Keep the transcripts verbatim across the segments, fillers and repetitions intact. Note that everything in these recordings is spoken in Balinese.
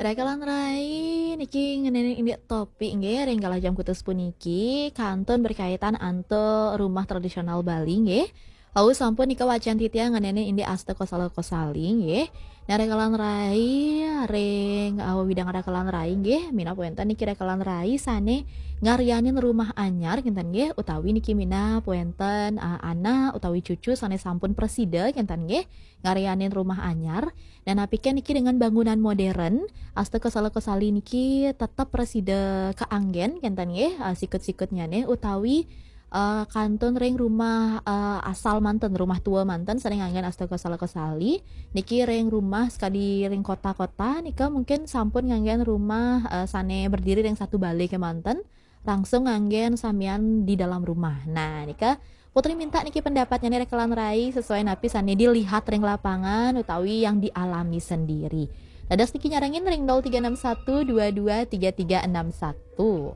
Rekalan rai niki ngeneni indik topik nggih, ring galah jam kutus puniki kantun berkaitan antuk rumah tradisional Bali nggih. Wau sampun nika wacan titiang ngeneni indik Asta Kosala Kosali nggih. Nah, rekalan rai ring, uh, widang rekalan rai nggih, minab wenten niki rekalan rai sane ngaryanin rumah anyar kinten nggih, utawi niki minab wenten, uh, anak utawi cucu sane sampun prasida kinten nggih, ngaryanin rumah anyar. Dan napiken niki dengan bangunan modern, Asta Kosala Kosali niki tetep prasida kaanggen kinten nggih, uh, sikut-sikutnyane utawi, uh, kantun ring rumah, uh, asal manten, rumah tua manten sane nganggen Asta Kosala Kosali. Niki ring rumah sekadi ring kota-kota nika mungkin sampun nganggen rumah, uh, sane berdiri ring satu bale kemanten, langsung nganggen samian di dalam rumah. Nah, nika Putri minta niki pendapatnya nih rekalan rai sesuai napi sane dilihat ring lapangan utawi yang dialami sendiri. Dados niki nyarengin ring nol tiga enam satu dua dua tiga tiga enam satu.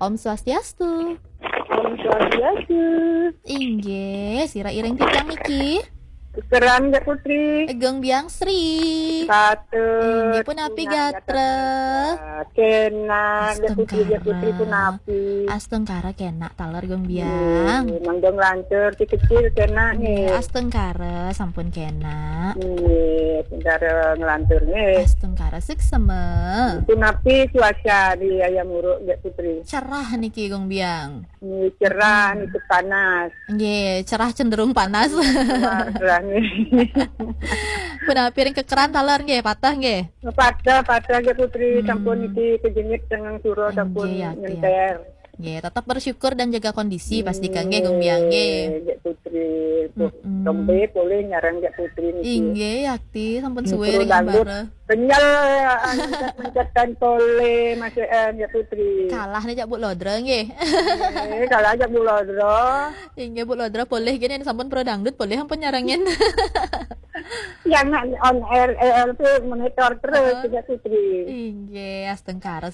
Om Swastiastu. Om Swastiastu. Inggih, sira iring titiang niki. Kekeran, Dek Putri. Gung Biang Sri. Patut. Inggih, punapi gatra? Kenak, Dek Putri, Dek Putri, punapi? Astungkara kenak taler, Gung Biang. Nggih, mangga nglantur, si kecil kenak, nggih. Astungkara sampun kenak. Nggih, astungkara nglantur, nggih. Astungkara suksema. Punapi cuaca di Hayam Wuruk, Dek Putri? Cerah niki, Gung Biang. Nggih, cerah, niki panas. Nggih, cerah cenderung panas. Cerah, cerah, nggih. Punapi ring kekeran taler nggih, patah nggih? Patah, patah nggih Putri, sampun niki kejengit tengah sura, sampun nyenter. Nggih, tetap bersyukur dan jaga kondisi, pasti kan nggih, Gung Biang nggih. Nggih, Putri. Tembe polih nyarang Dek Putri niki. Inggih, yakti, sampun suwe ring Ambara. Kenyel, mencet-mencetan polih, masih, eh, Dek Putri. Kalah nih, jak Bu Lodra nggih. Eh, kalah jak Bu Lodra. Inggih, Bu Lodra polih gini, sampun pro dangdut, polih ampun nyarengin. Yang on air, eh, L P monitor terus, Dek Putri. Inggih, astungkara.